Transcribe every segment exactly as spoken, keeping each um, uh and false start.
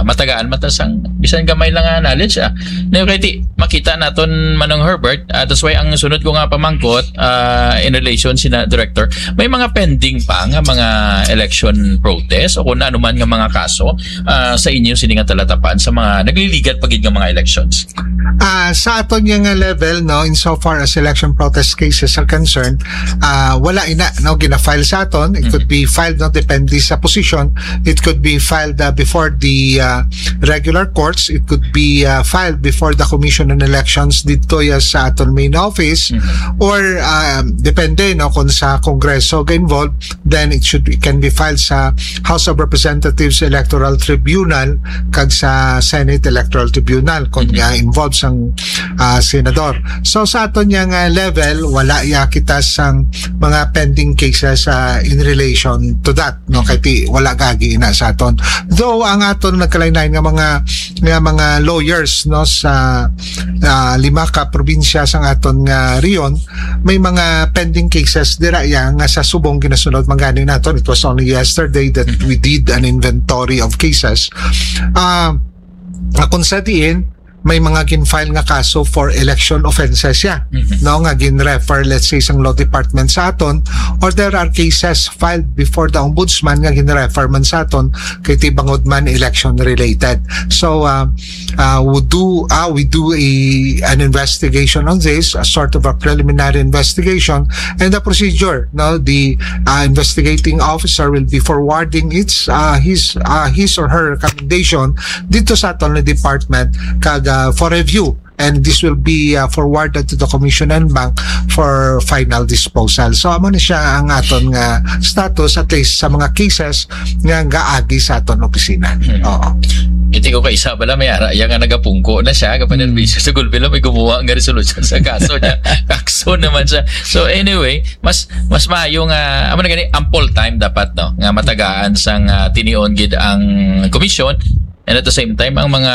matagaan man ta sang bisan gamay lang nga knowledge, ah. Now, kay ti, makita naton, Manong Herbert, ah, that's why ang sunod ko nga pamangkot, ah, in relation sina Director, may mga pending pa nga mga election protest o kung ano man nga mga kaso, ah, sa inyo sini nga talatapan sa mga nagliligad pa gid nga mga elections? Ah, sa aton nga, nga level, no, insofar as election protest cases are concerned, ah, wala ina, no, gina-file sa aton. It could be filed, no, depende sa position. It could be filed, ah, before the, ah, regular courts. It could be, ah, filed before the Commission on Elections didto ya sa aton main office. Or, ah, depende, no, kung sa Kongreso ga-involve, then it should, it can be filed sa House of Representatives Electoral Tribunal kag sa Senate Electoral Tribunal kung nga involved sang, ah, senador. So, sa aton nga, nga level, wala ya kita sang mga pending cases, ah, in relation to that, no? Kay ti, wala gagi na sa aton. Though ang aton nagkalain-lain nga mga, nga mga lawyers, no, sa, ah, lima ka probinsya sang aton nga rehiyon, may mga pending cases dira ya nga sa subong ginasunod man gani naton. It was only yesterday that we did an inventory of cases. Ah, kung sa diin, may mga gin-file nga kaso for election offenses ya, no, nga gin-refer, let's say, sang law department sa aton, or there are cases filed before the ombudsman nga gin-refer man sa aton kay ti bangod man election related. So, uh, uh, we do, uh, we do a, an investigation on this, a sort of a preliminary investigation, and the procedure, no, the, uh, investigating officer will be forwarding its, uh, his, uh, his or her recommendation dito sa aton department kag, uh, for review, and this will be, uh, forwarded to the Commission and Bank for final disposal. So, amo na siya ang aton nga status, at least sa mga cases nga gaagi sa aton opisina. Oo. Iti ko kay isa bala may ara iya nga nagapungko na siya, kapanerbiso sa gulpi lang may gumuha nga resolusyon sa kaso niya. Kakso naman siya. So anyway, mas mas maayo nga amo na gani, ample time dapat, no, nga matagaan sang, ah, tinion gid ang komisyon, and at the same time ang mga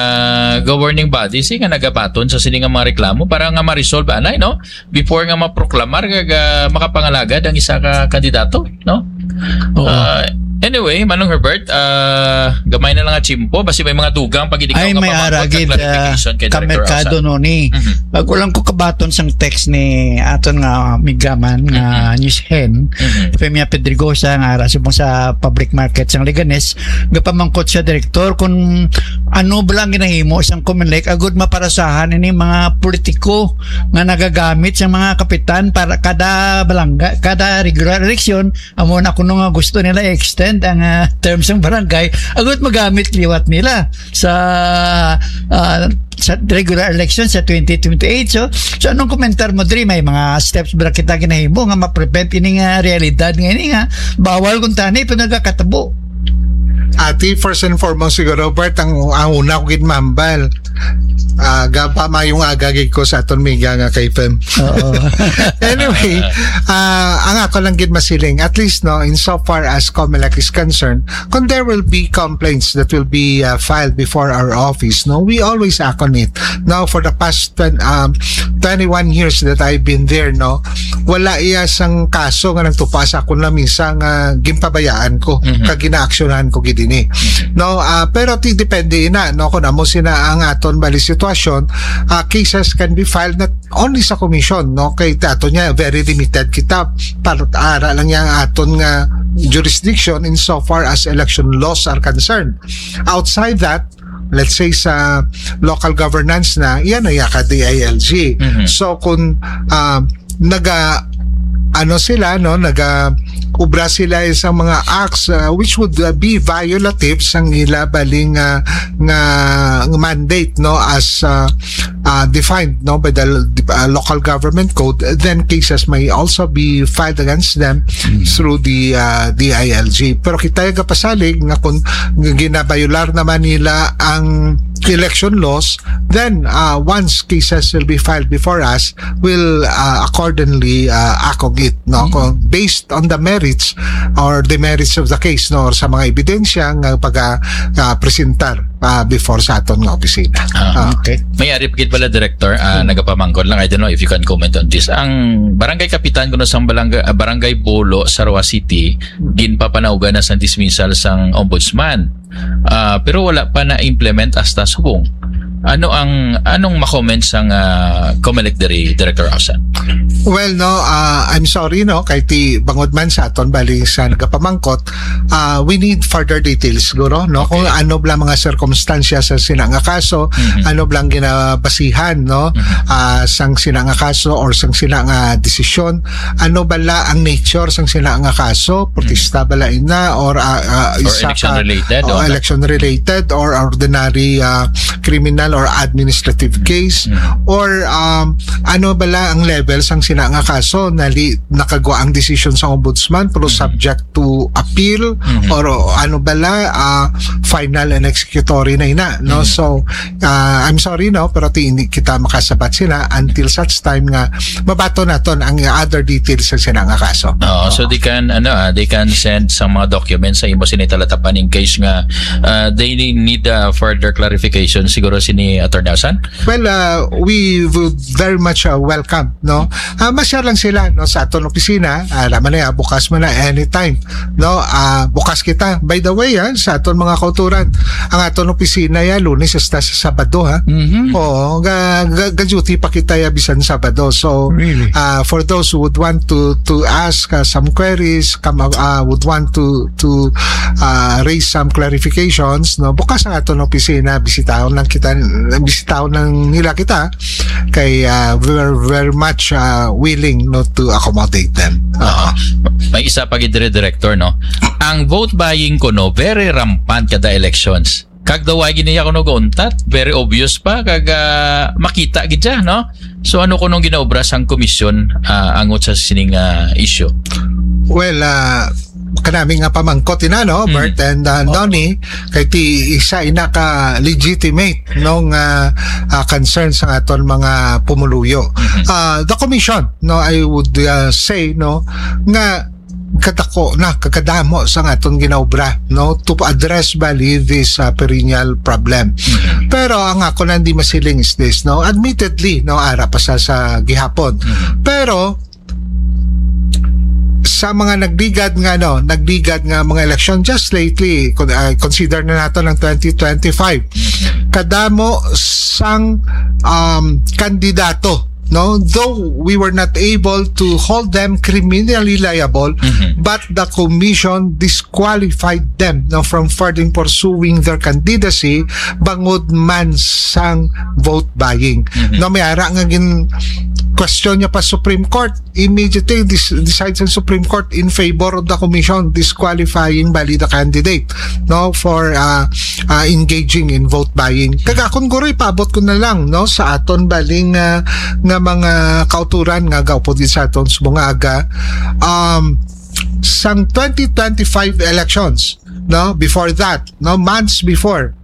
governing bodies, eh, nga nagabaton sa sini nga mga reklamo para nga ma-resolve anay, no, before nga maproklamar kag, ah, makapangalagad ang isa ka kandidato, no? Oo. Ah, anyway, Manong Herbert, ah, gamay na lang nga tiyempo, basi may mga dugang pa gid ikaw Ay, nga may pamangkot ara kag gid, ah, clarification kay Director kamerkado Rosa. No ni. Mhm. Bago lang ko kabaton sang text ni aton nga migaman nga Mhm. news hen, Mhm. Femia Pedregosa, nga ara subong sa public market sang Leganes, gapamangkot siya, Director, kung ano ba lang ginahimo sang Comelec agud maparasahan ini mga politiko nga nagagamit sa mga kapitan para kada balangga, kada regular election, amo na kuno nga gusto nila i-extend ang, ah, term sang barangay, agud magamit liwat nila sa, ah, sa regular election sa twenty twenty-eight. So, so anong komentar mo diri? May mga steps ba kita ginahimo nga ma-prevent ini nga realidad nga ini nga bawal kung tani pa nagakatabo? Ati, first and foremost siguro, Bert, ang, ang una ko gid mahambal, ah, gapa mayong aga gid ko sa aton miga nga kay Fem. Oo. Anyway, ah, ang ako lang gid masiling, at least, no, in so far as Comelec is concerned, kung there will be complaints that will be, ah, filed before our office, no, we always act on it. Now, for the past twen-, um, twenty-one years that I've been there, no, wala iya sang kaso nga nagtupa sa akon lamisa nga ginpabayaan ko, Mhm. kag ginaaksyonan ko gid ini. Mhm. No, ah, pero ti depende ina, no, kung amo sina ang aton bali sitwasyon, ah, cases can be filed not only sa komisyon, no, kay ti aton nga very limited kita, para ara lang yang aton nga jurisdiction in so far as election laws are concerned. Outside that, let's say sa local governance na, yan ay ka D I L G. Mhm. So kung, ah, naga, ano sila, no, naga ubra sila sa mga acts, ah, which would, ah, be violative sang ila baling, ah, nga, nga mandate, no, as, ah, ah, defined, no, by the l-, ah, local government code, then cases may also be filed against them Mm. through the, ah, D I L G. Pero kita yung kapasalig nga kung ginabayular naman nila ang election laws, Then, uh, once cases will be filed before us, we'll, uh, accordingly, uh, act on it, no? Mm. Kung based on the merits or demerits of the case, no, or sa mga ebidensya nga pag, ah, ah, presentar, ah, before sa aton nga opisina. Ah, Ah. okay. May ari pa gid pala, Director, ah, Hmm. nagapamangkot lang. I don't know if you can comment on this. Ang barangay kapitan kuno sang balangga-, ah, Barangay Bolo, Sarawa City, Hmm. ginpapanawgan na sang dismissal sang ombudsman. Ah, pero wala pa na-implement hasta subong. Ano ang, anong ma-comment sang, ah, Comelec diri, Director Ausan? Well, no, ah, I'm sorry, no, kay ti bangod man sa aton bali sa nagapamangkot, ah, we need further details siguro, no, kung Okay. ano bala mga sirkumstansya sa sina nga kaso, Mhm. ano bala ang ginabasihan, no, Mhm. ah, sang sina nga kaso or sang sina nga desisyon, ano bala ang nature sang sina nga kaso, protesta bala ina or, ah, ah, Or isa election ka, related, o o. election related or ordinary, ah, criminal or administrative case, Mhm. or, um, ano bala ang level sang sina nga kaso, nali-, nakagwa ang desisyon sa ombudsman pero Mhm. subject to appeal Mhm. or ano bala, ah, final and executory na ina, no? Mhm. So, ah, I'm sorry, no, pero ti hindi kita makasabat sila until such time nga mabaton naton ang other details sa sina nga kaso. Oo, so Oo. they can, ano, ah, they can send some mga documents sa imo sini talatapan in case nga, ah, they need, ah, further clarification siguro sini Attorney Ausan? Well, uh, we would very much, uh, welcome, no? Ah, ma-share lang sila, no, sa aton opisina. Ah, alam na, bukas man na anytime, no? Ah, bukas kita. By the way, ah, sa aton mga kauturan, ang aton opisina ya Lunes hasta sa Sabado, ha. Mhm. Oo, ga, ga, ga-duty pa kita ya bisan Sabado. So, Really? ah, for those who would want to to ask, ah, some queries, come, ah, would want to to, ah, raise some clarifications, no? Bukas ang aton opisina, bisitahon lang kita, bisitahon lang nila kita kay, ah, we're very much, ah, willing, no, to accommodate them. Oo. May isa pa gid diri, Director, no? Ang vote buying kuno very rampant kada elections. Kag daw ay giniya kuno gauntat, very obvious pa kag, ah, makita gid siya, no? So ano kunong ginaobra sang komisyon, ah, angot sa sining, ah, issue? Well, ah, kanami nga pamangkot ina, no, Mm. Bert and, ah, Oo. Donnie, kay ti isa ina ka legitimate, no, nga, ah, concern sa aton mga pumuluyo. Mhm. Ah, the commission, no, I would, ah, say, no, nga kadako na, kakadamo sa aton ginaobra, no, to address bali this, ah, perennial problem. Mhm. Pero ang ako na hindi masiling is this, no, admittedly, no, ara pa sa, sa gihapon. Mhm. Pero sa mga nagligad nga, no, nagligad nga mga eleksyon just lately, kun, ah, consider na nato ang twenty twenty-five. Mhm. Kadamo sang, um, kandidato, no, though we were not able to hold them criminally liable, Mhm. but the commission disqualified them, no, from further pursuing their candidacy bangod man sang vote buying. Mhm. No, may ara nga gin question niya pa Supreme Court, immediately dis-, decide sa Supreme Court in favor of the commission disqualifying bali the candidate, no, for, uh, uh, engaging in vote buying. Kag akon guro, ipaabot ko na lang, no, sa aton baling, uh, nga mga kauturan nga gaupod gid sa aton subong nga aga, um, sang twenty twenty-five elections, no, before that, no, months before,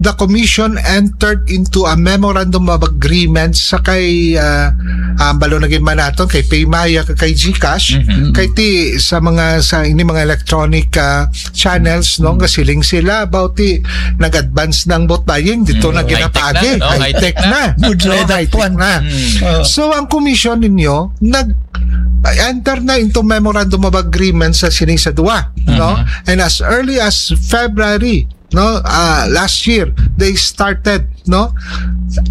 the commission entered into a memorandum of agreement sa kay, ah, ah, balo na gid man naton kay Paymaya kag kay GCash, Mhm. kay ti sa mga, sa ini mga electronic, ah, channels, no, Mm. nga siling sila about ti nag-advance ng vote buying, dito Mm. na High-tech ginapaagi. na, no? High-tech High-tech na. na. Good No, luck, high-tech Juan. na. Mm. Oh. So, ang commission ninyo, nag-enter na into memorandum of agreement sa sining sa duwa, no? Mhm. And as early as February, no, ah, last year, they started, no,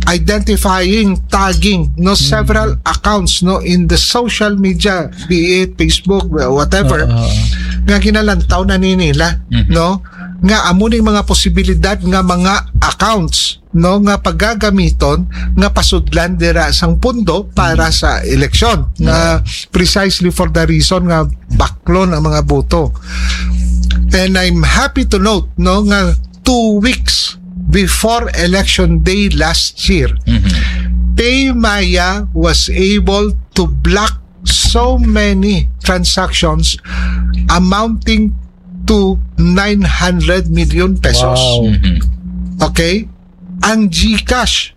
identifying, tagging, no, Mm. several accounts, no, in the social media, be it Facebook, whatever, Oo, oo. nga ginalantaw na ni nila, Mhm. no, nga amo ning mga posibilidad nga mga accounts, no, nga pagagamiton nga pasudlan dira sang pundo para Mhm. sa eleksyon, nga Mhm. precisely for the reason nga baklon ang mga boto. And I'm happy to note, no, nga two weeks before election day last year, Mhm. Paymaya was able to block so many transactions amounting to nine hundred million pesos. Wow. Mhm. Okay? Ang GCash,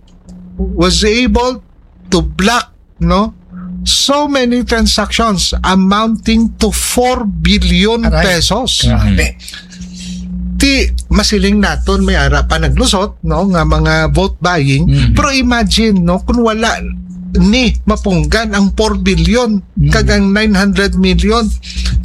was able to block, no, so many transactions amounting to four billion Aray. pesos. Grabe. Ti, masiling naton may ara pa naglusot, no, nga mga vote buying. Mhm. Pero imagine, no, kung wala ni mapunggan ang four billion Mhm. kag ang nine hundred million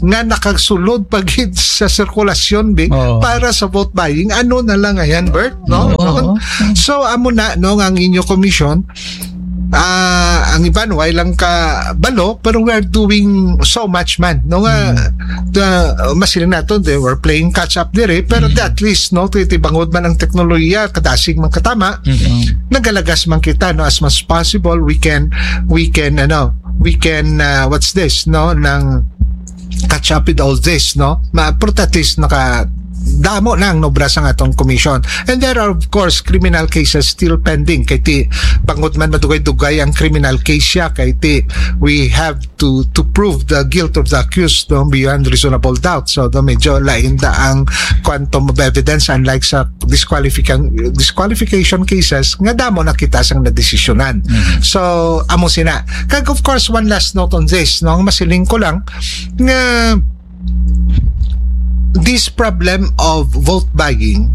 nga nakasulod pa gid sa sirkulasyon, bi, Oo. para sa vote buying. Ano na lang ayan, Bert, no? Oo. So, amo na, no, nga ang inyo komisyon, ah, ang iban, way lang ka balo, pero we are doing so much man, no, nga, Hmm. the, uh, masiling naton, they were playing catch up dire, pero Hmm. at least, no, titibangod man ang teknolohiya, kadasig man katama, Hmm. nagalagas man kita, no, as much as possible, we can, we can, ano, we can, uh, what's this, no, nang catch up with all this, no? Ma-, pero at least naka, damo na ang nobra sa atong commission. And there are, of course, criminal cases still pending. Kay ti, bangod man madugay-dugay ang criminal case siya, kay ti, we have to, to prove the guilt of the accused, no, beyond reasonable doubt. So, do medyo lain da ang quantum of evidence, unlike sa disqualification, disqualification cases nga damo na kita sang nadesisyonan. Mhm. So, amo sina. Kag, of course, one last note on this, no, ang masiling ko lang, nga this problem of vote buying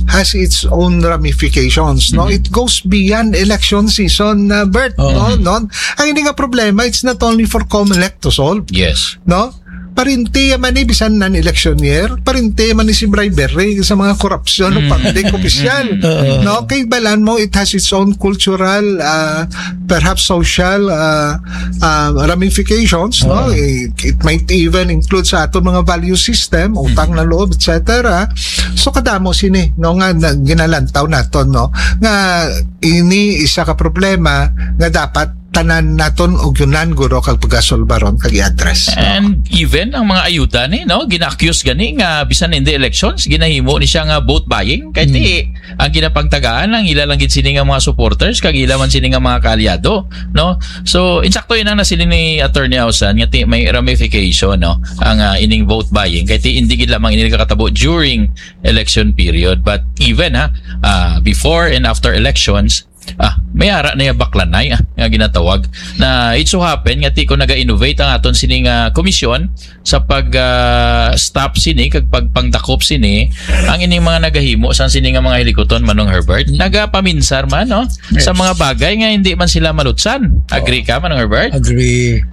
has its own ramifications, no? Mhm. It goes beyond election season, uh, Bert, Oo. no? No? Ang ini nga problema, it's not only for Comelec to solve, Yes. no? Parinti man ni bisan non-election year, parinti man ni si bribery sa mga korupsyon o Mm. public opisyal, Oo. no? Kay balan mo, it has its own cultural, uh, perhaps social, uh, uh, ramifications, no? Oo. It, it might even include sa aton mga value system, utang Mm. na loob, et cetera. So, kadamo sini, no, nga na, ginalantaw naton, no, nga ini isa ka problema nga dapat tanan naton ugyonan, guro, kag pagasulbaron kag i-address, no? And even ang mga ayuda ni, no, gina-accuse gani nga bisan hindi elections, ginahimo ni siya nga vote buying. Kay Mm. ti, ang ginapangtagaan lang, ila lang gid sini nga mga supporters, kag ila man sini nga mga kaalyado, no? So, insakto yun ang nasiling ni Attorney Ausan, nga ti may ramification, no? Ang, ah, ining vote buying. Kay ti, hindi gid lamang ini nakatabo during election period, but even, ha, ah, before and after elections, ah, may ara na yung baklanay, ah, nga ginatawag. Na it so happen nga ti ko naga-innovate ang aton sining, ah, komisyon sa pag, ah, stop sini kag pagpangdakop sini, ang ining mga nagahimo sang sini nga mga hilikuton, Manong Herbert, Mm. nagapaminsar man, no? Sa Yes. mga bagay nga hindi man sila malutsan. Agree Oo. ka, Manong Herbert? Agree.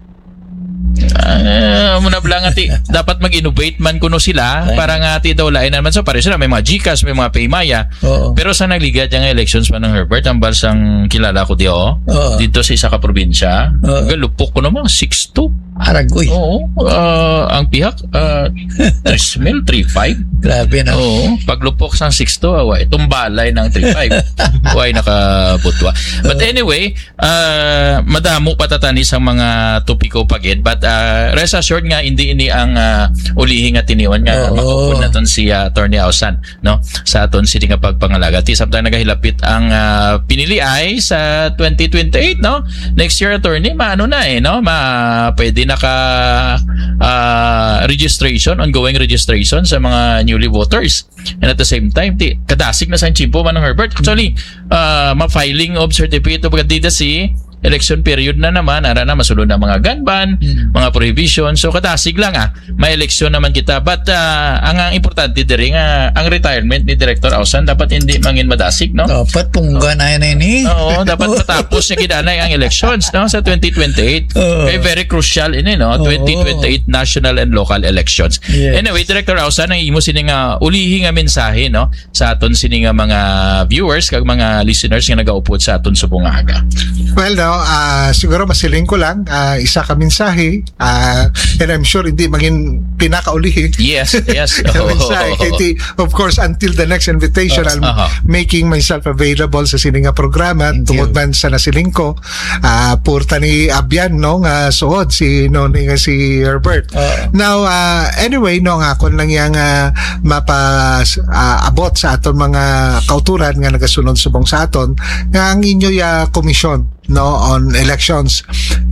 Ah, muna bala nga ti, dapat mag-innovate man kuno sila Ay. para nga ti daw lain naman. So, pareho sila, may mga GCash, may mga PayMaya. Oo. Pero sa nagligad nga elections, Manong Herbert, ang balsang kilala ko di, oh, Oo. dito sa isa ka probinsya, Oo. galupok ko naman, six two. Aragoy. Oo. Ah, ang pihak, ah, three mil, three five. Grabe na. Oo. Paglupok sang six two, ah, wa, itong balay ng three five. Way nakabutwa. But Oo. anyway, ah, madamo pa tatani sa mga topiko pa gid. But, ah, rest assured nga, hindi ini ang, ah, ulihi nga tinion nga Oo. makaupod naton si, ah, Attorney Ausan, no? Sa aton sini nga pagpangalaga. Ti samtang nagahilapit ang, ah, piniliay sa twenty twenty-eight, no? Next year, attorney, maano na eh, no? Ma-, pwede na ka, ah, registration, ongoing registration sa mga newly voters. And at the same time, ti, kadasig na sa tiyempo, Manong Herbert. Actually, ah, ma-filing of certificate of candidacy, election period na naman, ara na, masulod na mga gun ban, Mm. mga prohibition. So, kadasig lang, ah, may eleksyon naman kita. But, ah, ang, ang importante diri nga ang retirement ni Director Ausan dapat hindi mangin madasig, no? Dapat punggan na yan, eh. Oo, dapat matapos niya gid anay ang elections, no, sa twenty twenty-eight. Oo. Kay very crucial ini, no? Oo. Twenty twenty-eight national and local elections. Yes. Anyway, Director Ausan, ang imo sini nga ulihi nga mensahe, no, sa aton sini nga mga viewers kag mga listeners nga nagaupod sa aton subong nga aga? Well, no, ah, siguro masiling ko lang, ah, isa ka mensahe, ah, and I'm sure hindi maging pinakaulihi. Yes, yes. Mensahe, Katie, of course, until the next invitation, Uh, I'll aha. making myself available sa sini nga programa, Thank tungod you. man sa nasiling ko, ah, purta ni Abyan, no, nga suod si, no, ni, nga si Herbert. Oo. Now, ah, anyway, no, nga akon lang yang, ah, mapa-, ah, abot sa aton mga kauturan nga nagasunod subong sa aton, nga ang inyo ya komisyon, no, on elections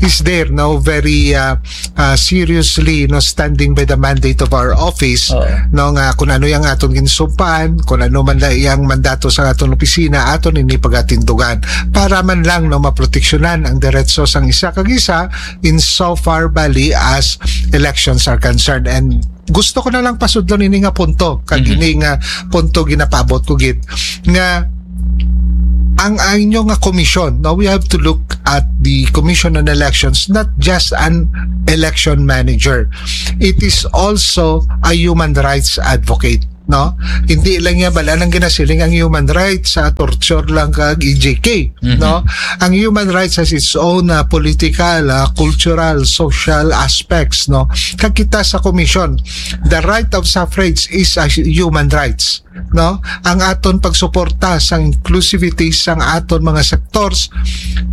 is there, no, very, uh, uh, seriously, no, standing by the mandate of our office, Oo. no, nga kung ano yung aton ginsumpaan, kung ano man na iyang mandato sa aton opisina, aton ini pagatindugan para man lang, no, maproteksyonan ang deretso sang isa kag isa in so far bali as elections are concerned. And gusto ko na lang pasudlon ini nga punto, kag Mhm. ini nga punto ginapaabot ko gid, nga ang, ang inyo nga komisyon, no, we have to look at the Commission on Elections not just an election manager. It is also a human rights advocate, no? Hindi lang niya bala nang ginasiling ang human rights sa torture lang kag E J K, Mhm. no? Ang human rights has its own, uh, political, uh, cultural, social aspects, no? Kag kita sa komisyon, the right of suffrage is a human rights, no? Ang aton pagsuporta sang inclusivity sang aton mga sectors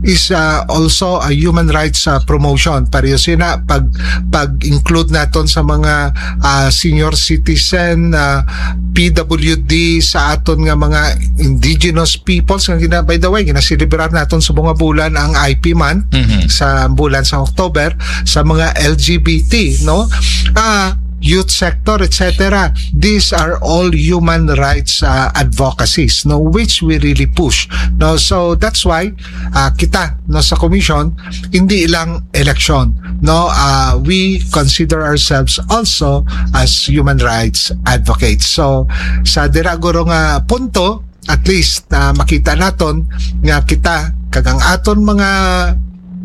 is, uh, also a human rights, uh, promotion. Pareho sina pag, pag-include naton sa mga, uh, senior citizen, uh, P W D, sa aton nga mga indigenous peoples nga gina-, by the way, ginaselebrar naton sa mga bulan ang I P month Mhm. sa bulan sa October, sa mga L G B T, no? Ah, youth sector, et cetera. These are all human rights, uh, advocacies, no, which we really push, no? So that's why, uh, kita, no, sa commission, hindi lang election, no, uh, we consider ourselves also as human rights advocates. So sa dira guro nga punto, at least, uh, makita naton nga kita kag ang aton mga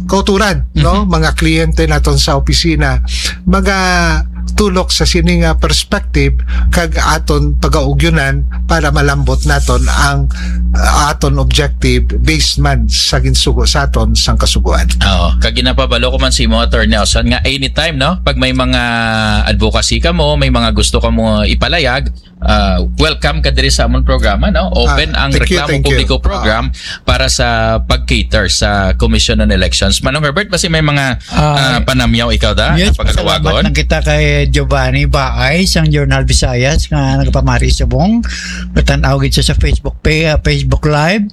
kauturan, no, Mhm. mga kliyente naton sa opisina, magatulok sa sini nga perspective kag aton pagaugyunan para malambot naton ang, uh, aton objective based man sa ginsugo sa aton sang kasugoan. Oo, kag ginapabalo ko man si mo, Attorney Nelson, nga anytime, no, pag may mga advocacy ka mo, may mga gusto ka mo ipalayag, uh, welcome ka diri sa amon programa, no? Open Ah, ang thank you, Reklamo thank you. Publiko program para sa pag-cater sa Commission on Elections. Manong Herbert, basi may mga, Ah, ah, panamyaw ikaw da, yes, na pagkatawagon? Pasalamat lang kita kay Giovanni Baay sang Journal Visayas nga nagapamari subong. Katan-aw gid siya sa Facebook pa-, ah, Facebook Live.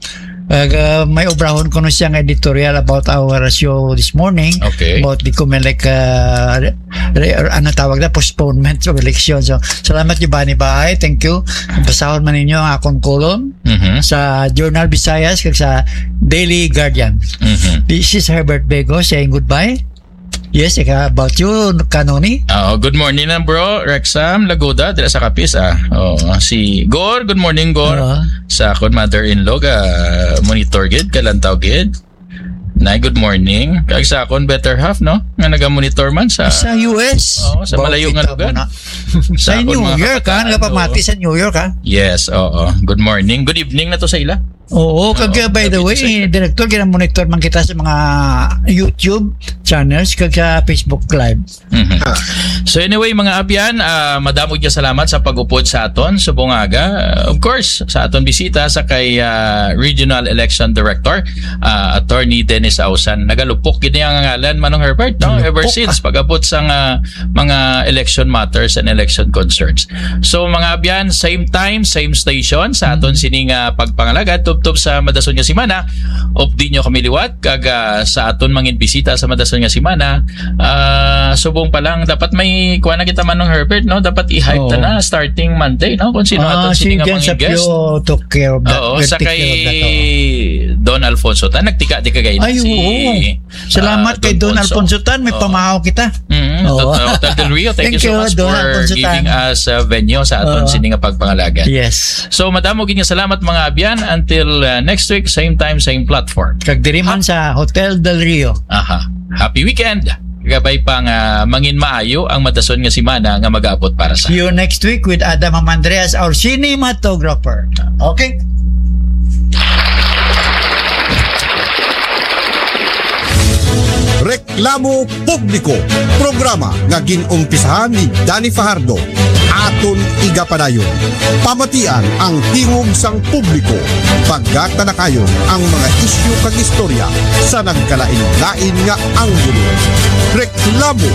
Ag, ah, may obrahon kuno siya nga editorial about our show this morning, Okay. about the Comelec, ah, re-, re-, ano tawag na, postponement of election. So, salamat, Giovanni Bahay. Thank you. Basahon man ninyo ang akong column Mhm. sa Journal Visayas kag sa Daily Guardian. Mhm. This is Herbert Bego saying goodbye. Yes, ika, about you, Kanoni. Oo, good morning na, bro. Rexam Lagoda, dira sa Capiz, ah. Oo, si Gor, good morning, Gor. Oo. Sa akon mother-in-law, ga monitor gid, kalantaw gid. Nay, good morning. Kag sa akon better half, no? Nga naga-monitor man sa Sa U S. Oo, sa Baw, malayo nga kita lugar. mo na. Sa Sa akon New mga York, ha? kapatid, Nagapamati oo. sa New York, ha? Yes, oo. Good morning. Good evening na to sa ila. Oo, kag, Oo, uh, by the way, David, sir. Director, gina-monitor man kita sa mga YouTube channels kag sa Facebook Live. Mhm. Ah. So anyway, mga abyan, ah, madamo nga salamat sa pag-upod sa aton subong aga. Of course, sa aton bisita sa kay, ah, Regional Election Director, ah, Attorney Dennis Ausan. Nagalupok gid niya ang ngalan, Manong Herbert, no? Ever Galupok, since ah. pag-abot sa nga mga election matters and election concerns. So, mga abyan, same time, same station sa aton Mm. sini nga pagpangalagad tubtob sa madason nga semana. Updi nyo kami liwat kag, ah, sa aton mangin bisita sa madason nga semana. Ah, subong pa lang, dapat may kuha na kita, Manong Herbert, no? Dapat i-hype Oo. ta na starting Monday, no? Kung sino Ah, aton si sini nga Jen mangin guest. Sapio took care of that. Oo, Will sa take kay care of that, oo. Don Alfonso ta, nagtika di kagay na Ay, si, oo. Salamat ah, kay Don Don Alfonso. Alfonso Tan, may Oo. pamahaw kita. Mm, Oo. Tot-, Hotel Del Rio, thank you Thank so you, much Don for Alfonso Tan. giving us a venue sa aton Oo. sini nga pagpangalagad. Yes. So, madamo gid nga salamat, mga abyan. Until, uh, next week, same time, same platform. Kag diri man Ha- sa Hotel Del Rio. Aha. Happy weekend. Gabay pa nga mangin maayo ang madason nga semana nga mag-aabot para sa See you next week with Adam Amandreas, our cinematographer. Okay? Reklamo Publiko, programa nga gin-umpisahan ni Danny Fajardo. Aton igapadayon. Pamatian ang tingog sang publiko. Pagkatalakayon ang mga isyu kag istorya sa nagkalain-lain nga anggulo. Reklamo